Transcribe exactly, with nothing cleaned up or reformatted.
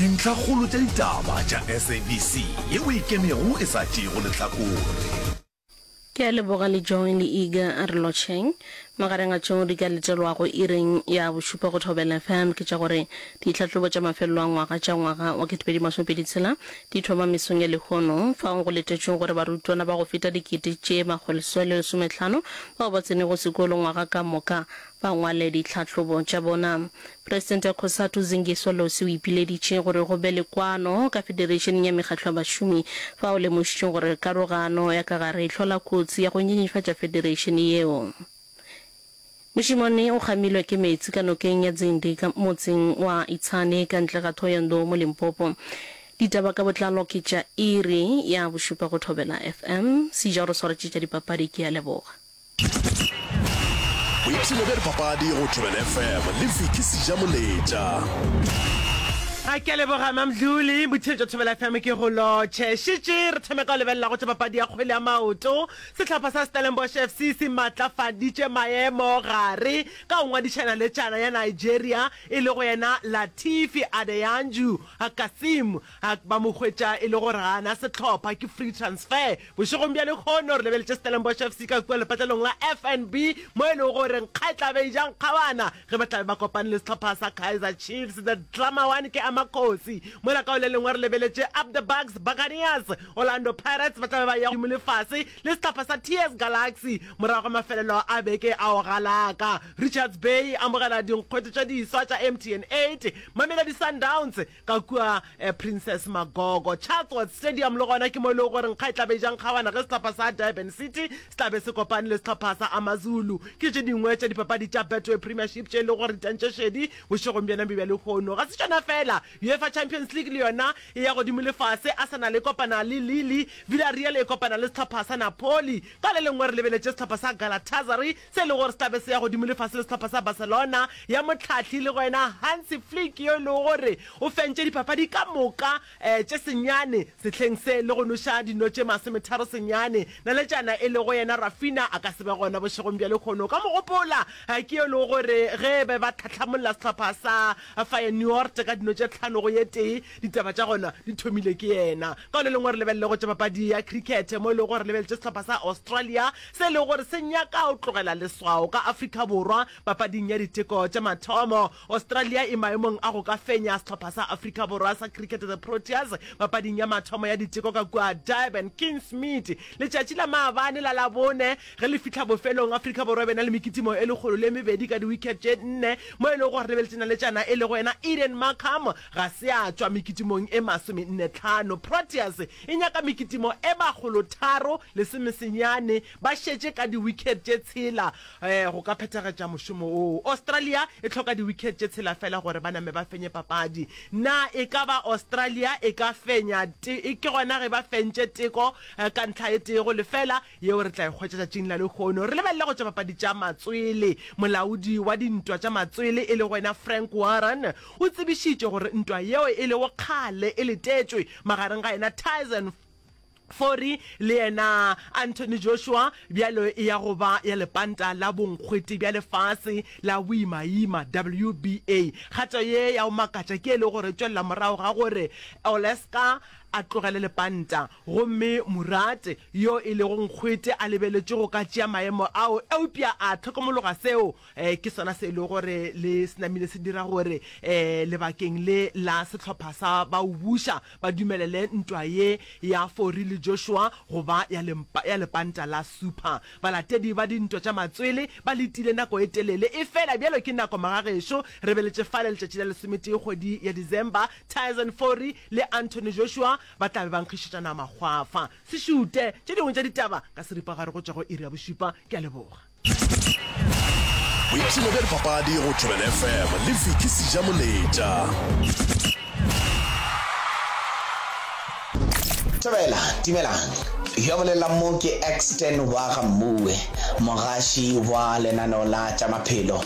Dintlhakgolo tša ditaba tša S A B C yeo e ikemego e sa tšeego lehlakore. Ke a leboga le Joy le Iga a re lotšheng. Magareng a tšeo di ka letelwago iring ya bošupa go Thobela F M ke tša gore ditlhahlobo tša mafelelo a ngwaga tša ngwaga wa ketepedi masomepedi tshela di thoma mesong ya lehono fao go letetšwego gore barutwana ba go feta dikete tše makgolo seswai le lesomehlano bao ba tsenego sekolo ngwaga ka moka ba ngwale ditlhahlobo tša bona. Presidente ya Cosatu Zingiswa Losi o ipileditše gore go be le kwano ka federeišeneng ya mekgatlo ya bašomi fao lemošitšeng gore karogano ya ka gare e hlola kotsi ya go nyenyefatša federeišene yeo. Mošemane o kgamilwe ke meetse ka nokeng ya Dzindi ka motseng wa Itsane ka ntle ga Thohoyandou mo Limpopo. Ditaba ka botlalo ke tša iri ya bošupa go Thobela F M. Seja o re swaretše tša dipapadi ke a leboga. Boipshino bja dipapadi go Thobela F M le Vicky Sejamoletša. A ke a leboga Mamdluli, Botheetšo Thobela F M ke go lotšhe. Šetše re thome ka go lebelela go tša papadi ya kgwele ya maoto. Sehlopha sa Stellenbosch F C se matlafaditše maemo gare ka go ngwadiša naletšana ya Nigeria e lego yena Latifi Adeyanju Kasim. Ba mo hwetša e le gore ga a na sehlopha, ke free transfer. Bošegong bja lehono re lebeletše Stellenbosch F C ka kua lepatlelong la F N B mo e lego gore nkga e tla be e ja nkgabana ge ba tla be ba kopane le sehlopha sa Kaizer Chiefs. The Drama One ke Amakhosi. Mola ka go le lengwe re lebeletše Up the Bucks Buccaneers. Orlando Pirates ba tla be ba eya godimo le fase le sehlopha sa T S Galaxy morago ga mafelelo a beke a go galaka. Richards Bay e amogela dinkgwete tše diswa tša M T N eight Mamelodi Sundowns ka kua Princess Magogo Chatsworth Stadium le gona ke mo e lego gore nkga e tla be e ja nkgawana ge sehlopha sa Durban City se tla be se kopane le sehlopha sa AmaZulu. Ke tše dingwe tša dipapadi tša Betway Premiership tše e lego gore di tantše šedi bošegong bjona bjo bja lehono. Ga se tšona fela, UEFA Champions League le yona e ya godimo le fase, Arsenal e kopana le Lille, Villarreal e kopana le sehlopha sa Napoli. Ka le lengwe re lebeletše sehlopha sa Galatasaray se e lego gore se tla be se ya godimo le fase le sehlopha sa Barcelona ya mohlahli le go yena Hansi Flick yo e lego gore o fentše dipapadi ka moka tše senyane sehleng se le go noša dino tše masometharo senyane. Naletšana e lego yena Raphinha a ka se be gona bošegong bja lehono. O ka mo gopola ke yo e lego gore ge be ba tlhahlamolla sehlopha sa Feyenoord ka dino tše tlhano go ye tee, ditaba tša gona di thomile ke yena. Ka le lengwe re lebelele go tša papadi ya cricket mo e lego gore re lebeletše sehlopha sa Australia se e lego gore se nyaka go tlogela leswao ka Afrika Borwa papading ya diteko tša mathomo. Australia e maemong a go ka fenya sehlopha sa Afrika Borwa sa cricket the Proteas papading ya mathomo ya diteko ka kua Durban Kingsmead letšatši la maabane la Labone. Ge le fihla bofelong, Afrika Borwa e be na le mekitimo e lekgolo le mebedi ka di-wicket tše nne mo e lego gore lebeletše naletšana e lego yena Aiden Markram ga se a tšwa mekitimong e masomenne tlhano. Proteas e nyaka mekitimo e makgolo tharo lesomesenyane ba šetše ka di-wicket tše tshela go ka phethagatša mošomo woo. Australia e hloka di-wicket tše tshela fela gore ba name ba fenye papadi. Na e ka ba Australia e ka fenya? Ke gona ge ba fentše teko ka ntlha e tee go lefela yeo re tla e hwetša tšatšing la lehono. Re lebelele go tša papadi tša matswele. Molaodi wa dintwa tša matswele e lego yena Frank Warren o tsebišitše gore ntwa yeo e lego kgale e letetšwe magareng ga yena Tyson Fury le yena Anthony Joshua bjalo e ya go ba ya lepanta la bonkgwete bja lefase la boimaima, W B A. Kgato ye ya go makatša ke e le gore e tšwelela morago ga gore Oleska a tlogele lepanta gomme Murat yo e lego nkgwete a lebeletšwe go ka tšea maemo ao eupša a hlokomologa seo. Ke sona se e lego gore le se namile se dira gore lebakeng le la sehlopha sa ba o buša ba dumelele ntwa ye ya Fury le Joshua go ba ya ya lepanta la Super. Balatedi ba dintwa tša matswele ba letile nako e telele, efela bjalo ke nako magagešo re beletše fale letšatši la lesometee kgwedi ya December, Tyson Fury le Anthony Joshua ba tla be ba nkgišetšana makgwafa. Se šute tše dingwe tša ditaba ka seripagare go tšwa go iri ya bošupa. Ke a leboga. Boipshino bja dipapadi go Thobela F M le Vicky Sejamoletša. Thobela, dumelang. Yo a bolelang mo ke Exton wa ga Mmuwe, mogaši wa lenaneo la tša maphelo.